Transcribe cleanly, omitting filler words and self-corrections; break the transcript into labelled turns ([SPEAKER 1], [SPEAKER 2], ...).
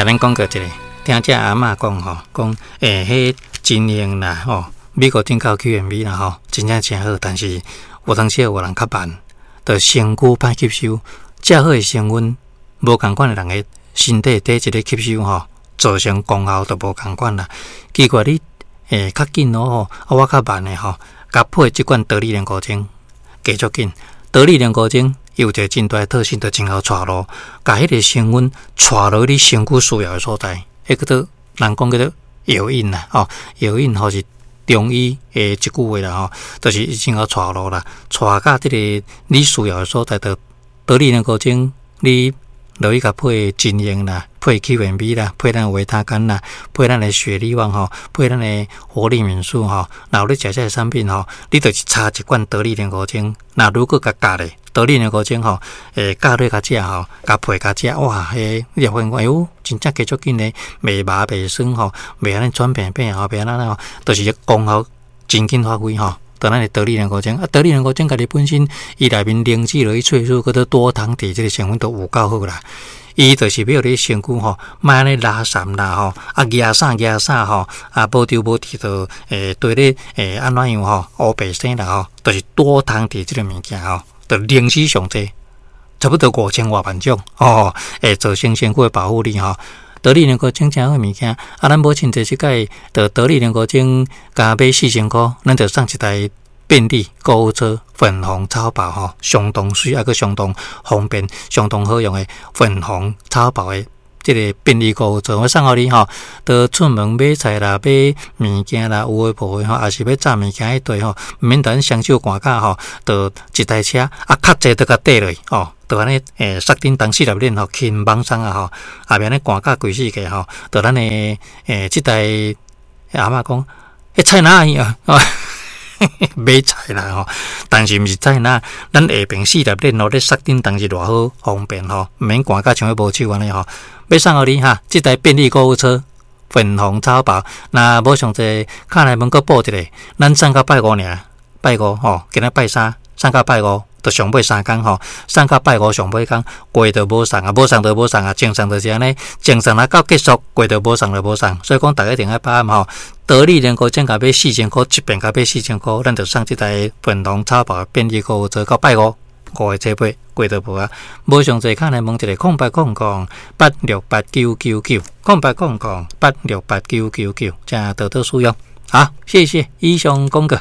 [SPEAKER 1] 共恁講過一下，聽這阿嬤講吼，講欸，彼真用啦吼，美國進口 QMB 啦吼，真正誠好，但是有當時有人較慢，就身軀歹吸收，遮好的成分，無仝款的人的身體體質咧吸收吼，造成功效就無仝款啦。奇怪你欸較緊咯吼，啊我較慢的吼，共配這款得力凝固精，加足緊，得力凝固精。伊有一个真大的特性，就真𠢕帶路，共彼个成分帶落你身軀需要的所在，彼叫做人講叫做藥引啦，吼，藥引吼是中醫的一句話啦，吼，就是伊真𠢕帶路啦，帶到這个你需要的所在，就得力凝固精，你落去共配真用啦，配 QMB 啦，配咱維他乾啦，配咱的雪利旺吼，配咱的活力敏素吼，若有咧食這个產品吼，你就是差一罐得力凝固精，若如果共加咧。得力凝固精吼，欸，加落共食吼，共配共食，哇，彼你會發現講，哎喲，真正加足緊咧，袂麻袂酸吼，袂按呢喘病病吼，袂按呢吼，就是功效真緊發揮吼。就咱的得力凝固精，啊，得力凝固精家己本身，伊內面靈芝落去萃取，閣做多糖體這个成分都有夠好啦。伊就是欲予你身軀吼，莫按呢拉潲啦吼，啊，夯啥夯啥吼，啊，無著無佇就欸，對咧欸，按怎樣吼，烏白生啦吼，就是多糖體這个物件吼。就靈芝上濟，差不多五千外萬種哦，會造成身軀的保護力吼。得力凝固精誠好物件，啊，咱母親節這擺，就得力凝固精共買4000箍，咱就送一台便利購物車，粉紅草寶吼，相當媠，抑閣相當方便、相當好用的粉紅草寶的這个便利購物車，我送予你吼，就出門買菜啦、買物件啦，有的無的吼，抑是欲紮物件彼塊吼，毋免等雙手寒甲吼，就一台車啊，較濟就共綴落吼，就按呢欸，剎叮當四粒鏈吼，輕枋鬆啊吼，後壁呢寒甲規世界吼，就咱的欸，這台阿嬤講，彼菜籃去啊？買菜啦吼，但是毋是菜籃，咱下爿四粒鏈吼，咧剎叮當是偌好方便吼，毋免寒甲像欲無手按呢吼。欲送予你哈，這台便利購物車，粉紅草寶，若無上濟，敲來問閣報一下，咱送到拜五爾，拜五吼，今仔拜三，送到拜五，就上尾三工吼，送到拜五上尾工，過就無送啊，無送就無送啊，正送就是按呢，正送若到結束，過就無送就無送，所以講逐家一定愛把握吼。得力凝固精共買四千箍，一遍共買四千箍，咱就送這台粉紅草寶便利購物車到拜五，五月初八過就無啊。無上濟，敲來問一下空八空空八六八九九九空八空空八六八九九九，請多多使用。好，謝謝，以上廣告。